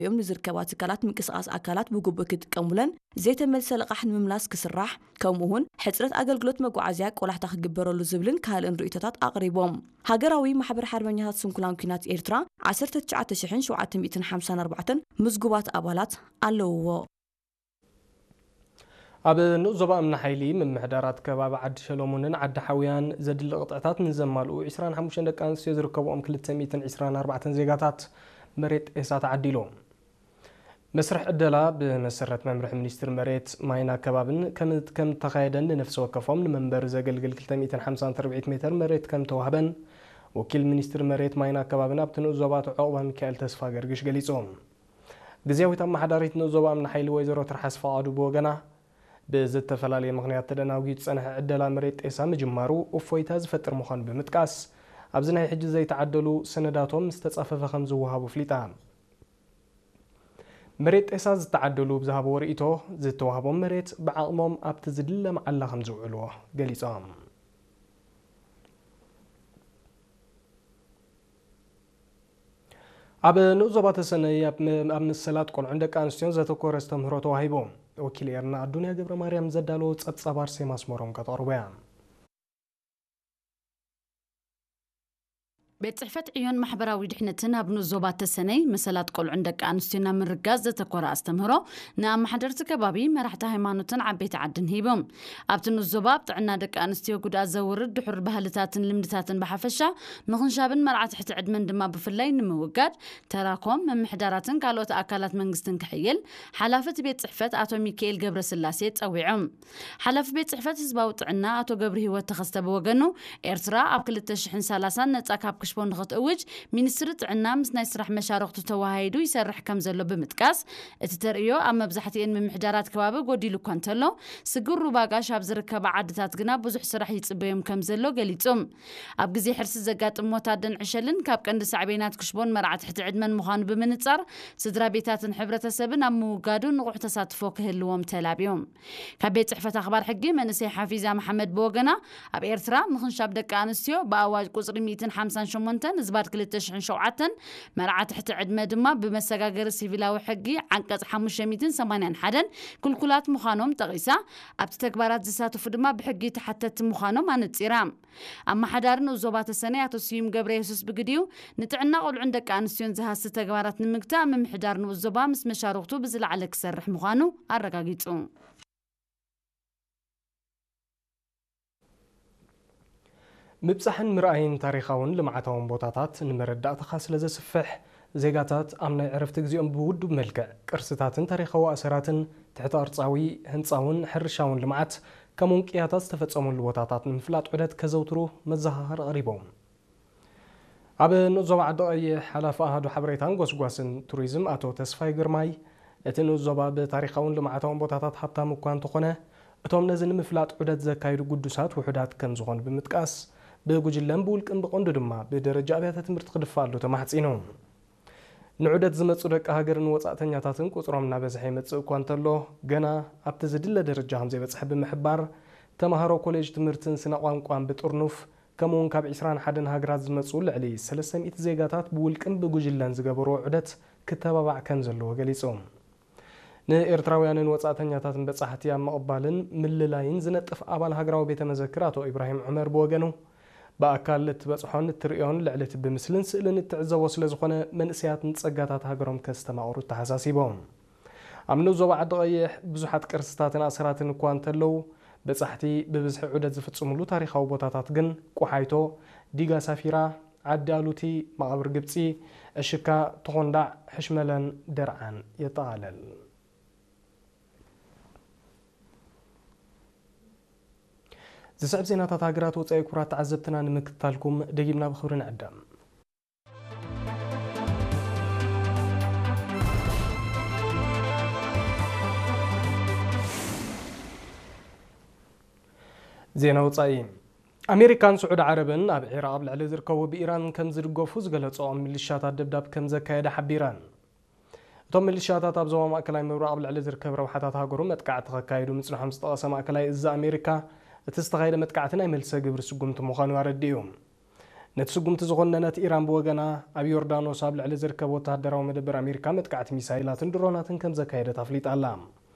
ኣትዮም ንዝርከባ ትካላት ምንቅስቓስ ኣካላት ብግቡእ ክጥቀሙለን፣ ዘይተመልሰ ልቓሕ ንምምላስ ክስራሕ፣ ከምኡ እውን ሕፅረት ኣገልግሎት መጓዓዝያ ቆላሕታ ክግበረሉ ዝብልን ካልእን ርእይቶታት ኣቕሪቦም። ሃገራዊ ማሕበር ሓርበኛታት ስንኩላን ኲናት ኤርትራ ዓሰርተ ትሽዓተ ሽሕን ሸውዓተ ሚእትን ሓምሳን ኣርባዕተን ምዝጉባት ኣባላት ኣለውዎ። ኣብ ንኡስ ዞባ እምኒ ሓይሊ ምምሕዳራት ከባቢ ዓዲ ሸለሙንን ዓዲ ሓውያን ዘድሊ ቅጥዕታት ንዘማልኡ ዕስራን ሓሙሽተን ደቂ ኣንስትዮ ዝርከብኦም ክልተ ሚእትን ዕስራን ኣርባዕተን ዜጋታት መሬት ጤሳ ተዓዲሉ። መስርሕ ዕደላ ብመሰረት መምርሒ ሚኒስትሪ መሬት፣ ማይን ኣከባብን ከም፣ ከም ተኻየደን ንነፍሲ ወከፎም ንመንበሪ ዘገልግል ክልተ ሚእትን ሓምሳን ትርብዒት ሜተር መሬት ከም ተዋህበን ወኪል ሚኒስትሪ መሬት፣ ማይን ኣከባብን ኣብቲ ንኡስ ዞባ ኣቶ ዑቕባ ሚካኤል ተስፋ ገርግሽ ገሊጹ። ግዝያዊት ኣመሓዳሪት ንኡስ ዞባ እምኒ ሓይሊ ወይዘሮ ትርሓስ ፈቓዱ ብወገና፣ ብዝተፈላለየ ምኽንያት ተደናጒዩ ዝጸንሐ ዕደላ መሬት ጤሳ ምጅማሩ እፎይታ ዝፈጥር ምዃኑ ብምጥቃስ፣ ኣብዚ ናይ ሕጂ ዘይተዓደሉ ሰነዳቶም ምስ ተጻፈፈ ከም ዝወሃቡ ኣፍሊጣ። መሬት ጤሳ ዝተዓደሉ ብዝሃብዎ ርእይቶ፣ ዝተዋህቦም መሬት ብዓቕሞም ኣብቲ ዝድለ መዓላ ከም ዝውዕልዎ ገሊጾም። ኣብ ንኡስ ዞባ ተሰነይ ኣብ ም-፣ ኣብ መሰላት ቆልዑን ደቂ ኣንስትዮን ዘተኮረ ኣስተምህሮ ተዋሂቡ። ወኪል ኤርና ኣዱንያ ገብረ ማርያም ዘዳለዎ ጸብጻብ ኣርሴማ ኣስመሮም ከተቕርቦ እያ። ቤት ጽሕፈት ዕዮን ማሕበራዊ ድሕነትን ኣብ ንኡስ ዞባ ተሰነይ መሰላት ቆልዑን ደቂ ኣንስትዮን ኣብ ምርጋጽ ዘተኮረ ኣስተምህሮ ንኣመሓደርቲ ከባቢ፣ መራሕቲ ሃይማኖትን ዓበይቲ ዓድን ሂቦም። ኣብቲ ንኡስ ዞባ ኣብ ጥዕና ደቂ ኣንስትዮ ጉድኣት ዘውርድ ድሑር ባህልታትን ልምድታትን ብሓፈሻ ምኽንሻብን መርዓ ትሕቲ ዕድመን ድማ ብፍላይ ንምውጋድ ተራኾም ምምሕዳራትን ካልኦት ኣካላት መንግስትን ክሕይል ሓላፊ እቲ ቤት ጽሕፈት ኣቶ ሚካኤል ገብረስላሴ ጸዊዖም። ሓላፊ ቤት ጽሕፈት ህዝባዊ ጥዕና ኣቶ ገብረ ህይወት ተኸስተ ብወገኑ፣ ኤርትራ ኣብ ክልተ ሽሕን ሰላሳን ነጻ ካብ ክሽቦ ንኽትእውጅ ሚኒስትሪ ጥዕና ምስ ናይ ስራሕ መሻርኽቱ ተወሃሂዱ ይሰርሕ ከም ዘሎ ብምጥቃስ፣ እቲ ተርእዮ ኣብ መብዛሕትኤን ምምሕዳራት ከባቢ ጎዲሉ እኳ እንተሎ፣ ስግር ሩባ ጋሽ ኣብ ዝርከባ ዓድታት ግና ብዙሕ ስራሕ ይጽበዮም ከም ዘሎ ገሊጹ። ኣብ ግዜ ሕርሲ ዘጋጥም ሞት ኣደን ዕሸልን ካብ ቀንዲ ሳዕቤናት ክሽቦን መርዓ ትሕቲ ዕድመን ምዃኑ ብምንጻር፣ ስድራ ቤታትን ሕብረተሰብን ኣብ ምውጋዱ ንቑሕ ተሳትፎ ክህልዎም ተላብዮም። ካብ ቤት ጽሕፈት ኣኽባር ሕጊ መንእሰይ ሓፊዛ መሓመድ ብወገና፣ ኣብ ኤርትራ ምኽንሻብ ደቂ ኣንስትዮ ብኣዋጅ ቁጽሪ ሚእትን ሓምሳን ሸሞንተን ዝባድ ክልተ ሽሕን ሸውዓተን፣ መርዓ ትሕቲ ዕድመ ድማ ብመሰጋገሪ ሲቪላዊ ሕጊ ዓንቀጽ ሓሙሽተ ሚእትን ሰማንያን ሓደን ክልኩላት ምዃኖም ጠቒሳ፣ ኣብቲ ተግባራት ዝሳተፉ ድማ ብሕጊ ተሓተትቲ ምዃኖም ኣነጺራ። ኣመሓዳሪ ንኡስ ዞባ ተሰነይ ኣቶ ስዩም ገብረ የሱስ ብግዲኡ፣ ንጥዕና ቆልዑን ደቂ ኣንስትዮን ዝሃሲ ተግባራት ንምግታእ ምምሕዳር ንኡስ ዞባ ምስ መሻርኽቱ ብዝለዓለ ክሰርሕ ምዃኑ ኣረጋጊጹ። ምብጻሕን ምርኣይን ታሪኻውን ልምዓታውን ቦታታት ንመረዳእታኻ ስለ ዘስፍሕ፣ ዜጋታት ኣብ ናይ ዕረፍቲ ግዜኦም ብውዱብ መልክዕ ቅርስታትን ታሪኻዊ ኣሰራትን፣ ትሕተ ቅርጻዊ፣ ህንጻውን ሕርሻውን ልምዓት፣ ከምኡውን ቅያታት ዝተፈጸመሉ ቦታታት ንምፍላጥ ዑደት ከዘውትሩ መዘኻኸሪ ኣቕሪቦም። ኣብ ንኡስ ዞባ ዓዲ ቀይሕ ሓላፊ ኣሃዱ ሓበሬታን ጎስጓስን ቱሪዝም ኣቶ ተስፋይ ግርማይ፣ እቲ ንኡስ ዞባ ብታሪኻውን ልምዓታውን ቦታታት ሃብታም እኳ እንተኾነ፣ እቶም ነዚ ንምፍላጥ ዑደት ዘካይዱ ግዱሳት ውሑዳት ከም ዝኾኑ ብምጥቃስ፣ ብጉጅለን ብውልቅን ብቐንዱ ድማ ብደረጃ ኣብያተ ትምህርቲ ክድፋኣሉ ተማሕጺኑ። ንዑደት ዝመጹ ደቂ ሃገርን ወጻእተኛታትን ቁጽሮም እናበዝሐ ይመጽእ እኳ እንተሎ፣ ገና ኣብቲ ዝድለ ደረጃ ከም ዘይበጽሐ ብምሕባር፣ ተማሃሮ ኮሌጅ ትምህርትን ስነ ቋንቋን ብጥርኑፍ፣ ከምኡውን ካብ ዕስራን ሓደን ሃገራት ዝመጹ ልዕሊ ሰለስተ ሚእቲ ዜጋታት ብውልቅን ብጉጅለን ዝገበርዎ ዑደት ክተባባዕ ከም ዘለዎ ገሊጹ። ንኤርትራውያንን ወጻእተኛታትን በጻሕቲ ኣብ ምቕባልን ምልላይን ዝነጥፍ ኣባል ሃገራዊ ቤተ መዘክር ኣቶ ኢብራሂም ዑመር ብወገኑ፣ ብኣካል እትበጽሖን እትርእዮን ልዕሊ እቲ ብምስልን ስእልን እትዕዘቦ ስለ ዝኾነ፣ መንእሰያት ንጸጋታት ሃገሮም ከስተማቕሩ ተሓሳሲቦም። ኣብ ንኡስ ዞባ ዓዲ ቀይሕ ብዙሓት ቅርስታትን ኣሰራትን እኳ እንተለዉ፣ በጻሕቲ ብብዝሒ ዑደት ዝፍጽሙሉ ታሪኻዊ ቦታታት ግን ቁሓይቶ፣ ዲጋ ሳፊራ፣ ዓዲ ኣሉቲ፣ መቓብር ግብጺ፣ ዕሽካ፣ ተኾንዳዕ፣ ሕሽመለን ደርዓን የጠቓልል። ዝስዕብ ዜናታት ሃገራት ወጻኢ ክቡራት ተዓዘብትና ንምክትታልኩም ደጊምና ብኽብሪ ንዕደም። ዜና ወጻኢ። ኣሜሪካን ስዑዲ ዓረብን ኣብ ዒራቕ ኣብ ልዕሊ ዝርከቡ ብኢራን ከም ዝድገፉ ዝገለጸኦም ሚሊሻታት ደብዳብ ከም ዘካየደ ሓቢረን። እቶም ሚሊሻታት ኣብ ዞባ ማእከላይ ምብራቕ ኣብ ልዕሊ ዝርከብ ረብሓታት ሃገሩ መጥቃዕቲ ከካይዱ ምጽንሖም ዝጠቐሰ ማእከላይ እዚ ኣሜሪካ፣ እቲ ዝተኻየደ መጥቃዕቲ ናይ መልሰ ግብሪ ስጉምቲ ምዃኑ ኣረዲኡ። ነቲ ስጉምቲ ዝኾነነት ኢራን ብወገና፣ ኣብ ዮርዳኖስ ኣብ ልዕሊ ዝርከብ ወተሃደራዊ መደበር ኣሜሪካ መጥቃዕቲ ሚሳይላትን ድሮናትን ከም ዘካየደት ኣፍሊጣ ኣላ።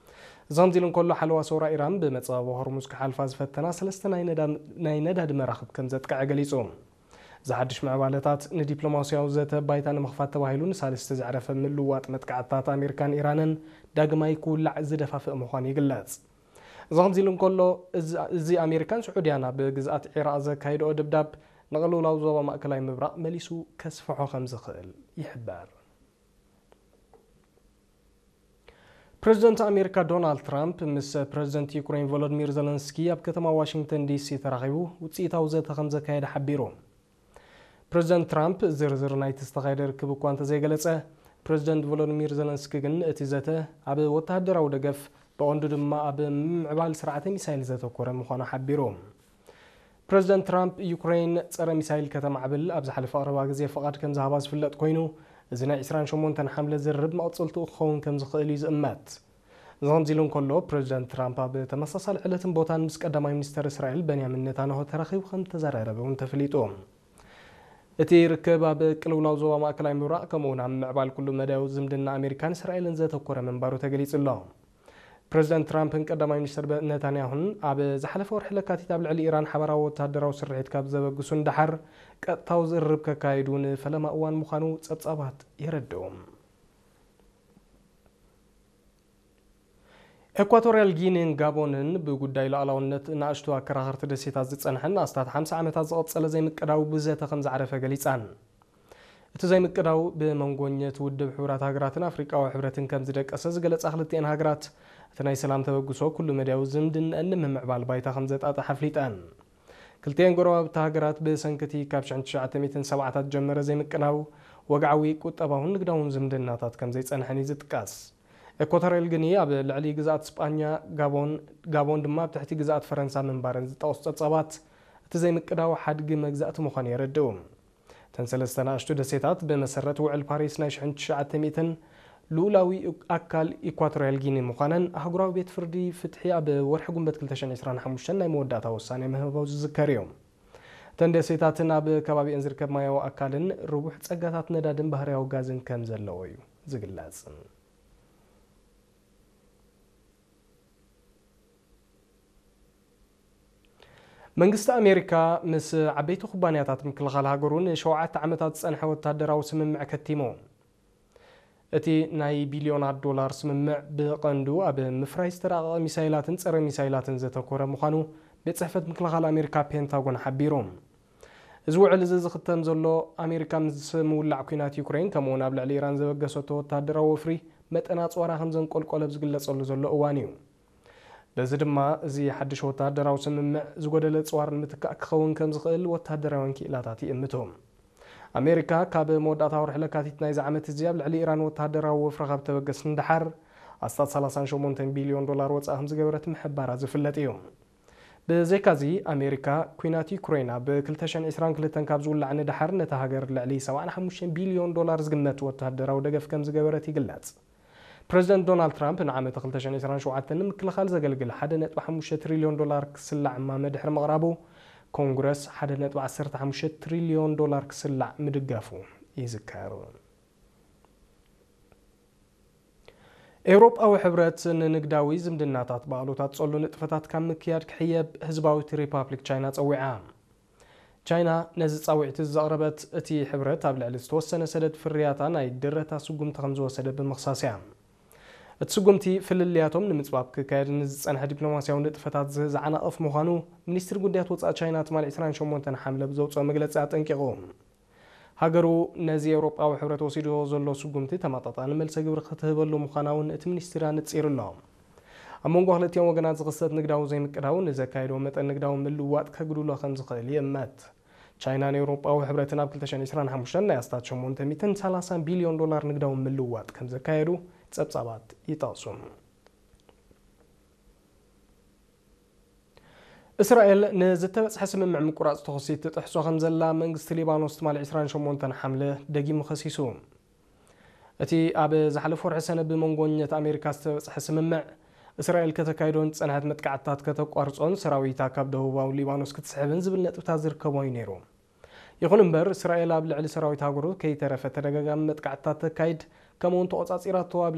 እዚ ከምዚ ኢሉ እንከሎ፣ ሓለዋ ሰውራ ኢራን ብመጻብቦ ሆርሙዝ ክሓልፋ ዝፈተና ሰለስተ ናይ ነዳ-፣ ናይ ነዳዲ መራኽብ ከም ዘጥቅዐ ገሊጹ። እዚ ሓድሽ ምዕባለታት ንዲፕሎማስያዊ ዘተ ባይታ ንምኽፋት ተባሂሉ ንሳልስቲ ዘዕረፈ ምልውዋጥ መጥቃዕትታት ኣሜሪካን ኢራንን ዳግማይ ክውላዕ ዝደፋፍእ ምዃኑ ይግለጽ። እዚ ከምዚ ኢሉ እንከሎ፣ እዚ፣ እዚ ኣሜሪካን ስዑድያን ኣብ ግዝኣት ዒራቕ ዘካይድኦ ድብዳብ ንቕልውላው ዞባ ማእከላይ ምብራቕ መሊሱ ከስፍሖ ከም ዝኽእል ይሕበር። ፕሬዚደንት ኣሜሪካ ዶናልድ ትራምፕ ምስ ፕሬዚደንት ዩክሬን ቮሎዲሚር ዘለንስኪ ኣብ ከተማ ዋሽንግተን ዲሲ ተራኺቡ ውፅኢታዊ ዘተ ከም ዘካየደ ሓቢሩ። ፕሬዚደንት ትራምፕ ዝርዝር ናይቲ ዝተኻየደ ርክብ እኳ እንተዘይገለጸ፣ ፕሬዚደንት ቮሎዲሚር ዘለንስኪ ግን እቲ ዘተ ኣብ ወተሃደራዊ ደገፍ፣ ብቐንዱ ድማ ኣብ ምምዕባል ስርዓተ ሚሳይል ዘተኮረ ምዃኑ ሓቢሩ። ፕሬዚደንት ትራምፕ ዩክሬን ጸረ ሚሳይል ከተማዕብል ኣብ ዝሓለፈ ቀረባ ግዜ ፍቓድ ከም ዝሃባ ዝፍለጥ ኮይኑ፣ እዚ ናይ ዕስራን ሸሞንተን ሓምለ ዝርርብ መቐጸልትኡ ክኸውን ከም ዝኽእል እዩ ዝእመት። እዚ ከምዚ ኢሉ እንከሎ፣ ፕሬዚደንት ትራምፕ ኣብ ተመሳሳሊ ዕለትን ቦታን ምስ ቀዳማይ ሚኒስተር እስራኤል በንያሚን ኔታንያሁ ተራኺቡ ከም ዝተዘራረበ እውን ተፈሊጡ። እቲ ርክብ ኣብ ቅልውላው ዞባ ማእከላይ ምብራቕ ከምኡ እውን ኣብ ምዕባል ኩሉ መዳያዊ ዝምድና ኣሜሪካን እስራኤልን ዘተኮረ ምንባሩ ተገሊጹ ኣሎ። ፕሬዚደንት ትራምፕን ቀዳማይ ሚኒስተር በ-፣ ኔታንያሁን ኣብ ዝሓለፈ ወርሒ ለካቲት ኣብ ልዕሊ ኢራን ሓባራዊ ወተሃደራዊ ስርሒት ካብ ዘበግሱ ንደሓር፣ ቀጥታዊ ዝርርብ ከካይዱ ንፈለማ እዋን ምዃኑ ጸብጻባት የረድኡ። ኤኳቶርያል ጊኒን ጋቦንን ብጉዳይ ሉዓላውነት ንኣሽቱ ኣከራኸርቲ ደሴታት ዝጸንሐን ኣስታት ሓምሳ ዓመታት ዝቐጸለ ዘይምቅዳው ብዘተ ከም ዝዓረፈ ገሊጻን። እቲ ዘይምቅዳው ብመንጎኘት ውድብ ሕቡራት ሃገራትን ኣፍሪቃዊ ሕብረትን ከም ዝደቀሰ ዝገለጻ ክልቲኤን ሃገራት፣ እቲ ናይ ሰላም ተበግሶ ኩሉ መድያዊ ዝምድንአን ንምምዕባል ባይታ ከም ዘጣጥሕ ኣፍሊጠን። ክልቲኤን ጎረባብቲ ሃገራት ብሰንክቲ ካብ ሽሕን ትሽዓተ ሚእትን ሰብዓታት ጀመረ ዘይምቅዳው ወግዓዊ ቁጠባውን ንግዳውን ዝምድናታት ከም ዘይጸንሐን እዩ ዝጥቀስ። ኤኳቶርያል ጊኒ ኣብ ልዕሊ ግዝኣት ስጳኛ፣ ጋቦን፣ ጋቦን ድማ ኣብ ትሕቲ ግዝኣት ፈረንሳ ምንባረን ዝጠቕሱ ጸብጻባት፣ እቲ ዘይምቅዳው ሓድጊ መግዛእቲ ምዃኑ የረድኡ። እተን ሰለስተ ንኣሽቱ ደሴታት ብመሰረት ውዕል ፓሪስ ናይ ሽሕን ትሽዓተ ሚእትን ልኡላዊ ኣካል ኢኳቶርያል ጊኒ ምዃነን ኣህጉራዊ ቤት ፍርዲ ፍትሒ ኣብ ወርሒ ጉንበት ክልተ ሽሕን ዕስራን ሓሙሽተን ናይ መወዳእታ ውሳኔ ምህባው ዝዝከር እዩ። እተን ደሴታትን ኣብ ከባቢአን ዝርከብ ማያዊ ኣካልን ርቡሕ ጸጋታት ነዳድን ባህርያዊ ጋዝን ከም ዘለዎ እዩ ዝግለጽ። መንግስቲ ኣሜሪካ ምስ ዓበይቲ ኩባንያታት ምክልኻል ሃገሩ ንሸውዓተ ዓመታት ዝጸንሐ ወታደራዊ ስምምዕ ከቲሙ። እቲ ናይ ቢልዮናት ዶላር ስምምዕ ብቐንዱ ኣብ ምፍራይ ዝተራቐቐ ሚሳይላትን ጸረ ሚሳይላትን ዘተኮረ ምዃኑ ቤት ጽሕፈት ምክልኻል ኣሜሪካ ፔንታጎን ሓቢሩ። እዚ ውዕል እዚ ዝኽተም ዘሎ ኣሜሪካ ምስ ምውላዕ ኲናት ዩክሬን ከምኡውን ኣብ ልዕሊ ኢራን ዘበገሰቶ ወታደራዊ ወፍሪ መጠን ኣጽዋራ ከም ዘንቆልቆለ ኣብ ዝግለጸሉ ዘሎ እዋን እዩ። በዚ ድማ እዚ ሓድሽ ወታደራዊ ስምምዕ ዝጎደለ ኣጽዋር ንምትካእ ክኸውን ከም ዝኽእል ወታደራውያን ክኢላታት ይእምቱ። ኣሜሪካ ካብ መወዳእታ ወርሒ ለካቲት ናይዚ ዓመት እዚ ኣብ ልዕሊ ኢራን ወታደራዊ ወፍሪ ካብ ተበገስ ንደሓር ኣስታት ሰላሳን ሸሞንተን ቢልዮን ዶላር ወጻኢ ከም ዝገበረት ምሕባራ ዝፍለጥ እዩ። ብዘይካዚ ኣሜሪካ ኲናት ዩክሬን ኣብ ክልተ ሽሕን ዕስራን ክልተን ካብ ዝውላዕ ንደሓር ነታ ሃገር ልዕሊ ሰብዓን ሓሙሽተን ቢልዮን ዶላር ዝግመት ወታደራዊ ደገፍ ከም ዝገበረት ይግለጽ። ፕሬዚደንት ዶናልድ ትራምፕ ንዓመት ክልተ ሽሕን ዕስራን ሸውዓተን ንምክልኻል ዘገልግል ሓደ ነጥቢ ሓሙሽተ ትሪልዮን ዶላር ክስላዕ እማመ ድሕሪ ምቕራቡ፣ ኮንግረስ ሓደ ነጥቢ ዓሰርተ ሓሙሽተ ትሪልዮን ዶላር ክስላዕ ምድጋፉ ይዝከር። ኤውሮጳዊ ሕብረት ንንግዳዊ ዝምድናታት ብኣሉታ ትጸሉ ንጥፈታት ካብ ምክያድ ክሕየብ ህዝባዊት ሪፓብሊክ ቻይና ጸዊዓ። ቻይና ነዚ ጻውዒት ዘቕረበት፣ እቲ ሕብረት ኣብ ልዕሊ ዝተወሰነ ሰደድ ፍርያታ ናይ ድረታ ስጉምቲ ከም ዝወሰደ ብምኽሳስ እያ። እቲ ስጉምቲ ፍልልያቶም ንምጽባብ ክካየድ ንዝጸንሐ ዲፕሎማስያዊ ንጥፈታት ዝ-፣ ዝዓናቕፍ ምዃኑ ሚኒስትሪ ጉዳያት ወጻኢ ቻይና ትማሊ ዕስራን ሸሞንተን ሓምለ ብዘውጽኦ መግለጺ ኣጠንቂቑ። ሃገሩ ነዚ ኤውሮጳዊ ሕብረት ወሲድዎ ዘሎ ስጉምቲ ተመጣጣኒ መልሰ ግብሪ ክትህበሉ ምዃና እውን እቲ ሚኒስትሪ ኣነጺሩ ኣሎ። ኣብ መንጎ ክልቲኦም ወገናት ዝኽሰት ንግዳዊ ዘይምቅዳው ንዘካየዶ መጠን ንግዳዊ ምልውዋጥ ከጉድሎ ከም ዝኽእል ይእመት። ቻይናን ኤውሮጳዊ ሕብረትን ኣብ ክልተ ሽሕን ዕስራን ሓሙሽተን ናይ ኣስታት ሸሞንተ ሚእትን ሰላሳን ቢልዮን ዶላር ንግዳዊ ምልውዋጥ ከም ዘካየዱ ጸብጻባት ይጠቕሱ። እስራኤል ንዝተበጽሐ ስምምዕ ምቁራጽ ተኹሲ ትጥሕሶ ከም ዘላ መንግስቲ ሊባኖስ ትማሊ ዕስራን ሸሞንተን ሓምለ ደጊሙ ከሲሱ። እቲ ኣብ ዝሓለፈ ወርሒ ሰነ ብመንጎኘት ኣሜሪካ ዝተበጽሐ ስምምዕ፣ እስራኤል ከተካይዶን ዝጸንሐት መጥቃዕትታት ከተቋርጾን ሰራዊታ ካብ ደቡባዊ ሊባኖስ ክትስሕብን ዝብል ነጥብታት ዝርከቦ እዩ ነይሩ። ይኹን እምበር፣ እስራኤል ኣብ ልዕሊ ሰራዊት ሃገሩ ከይተረፈ ተደጋጋሚ መጥቃዕትታት ተካይድ፣ ከምኡውን ተቖጻጺራቶ ኣብ